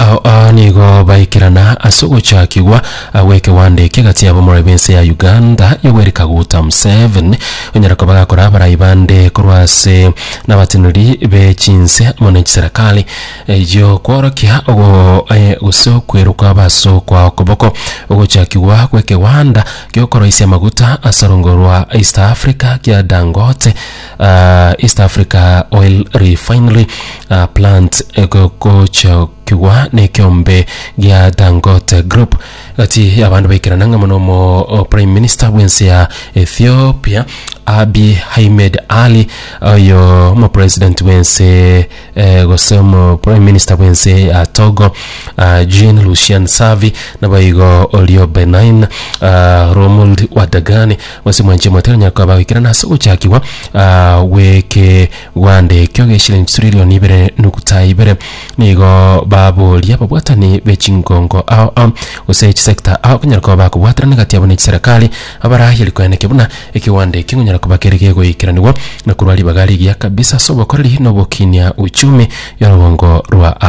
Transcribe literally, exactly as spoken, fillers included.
Ao ao nigo baikerana ase ogochakigwa gw'ekewanda eke gati yabo omorwani bw'ense ya Uganda Yoweri Kaguta Museveni onyara koba gakora abarai bande korwa ase nabateneneri be chinse amo ne chiserekari eyio kworokia ogo eh, gose okweruka ase okwa okoboko ogochakigwa gw'ekewanda giokoroisia amaguta ase orongo rwa East Africa kia Dangote uh, East Africa Oil Refinery uh, plant gochakigwa nekiombe gia Dangote Group gati abandu baikerana ng'a mono omo prime minister bw'ense ya Ethiopia Abiy Ahmed Ali oyo omo president bw'ense eh, gose omo prime minister bw'ense ya Togo uh, Jean Lucien Savi naboigo orio Benin uh, Romuald Wadagani gose mwanche motero nyako bagikerana ase ogochakigwa uh, gweke gwande ekio geshilingi trillion ibere nukuta ibere nigo baboria babwatani bechingongo ao ao gose chisector ao konyara koba bakobwaterana gati yabo ne chiserikali abaraheri koeneke buna ekiwanda ekio ngonyara koba kere gegoikeranigwa na korwa ribaga rigiya kabisa ase obokoreri na obokinia uchumi ya orobongo rwa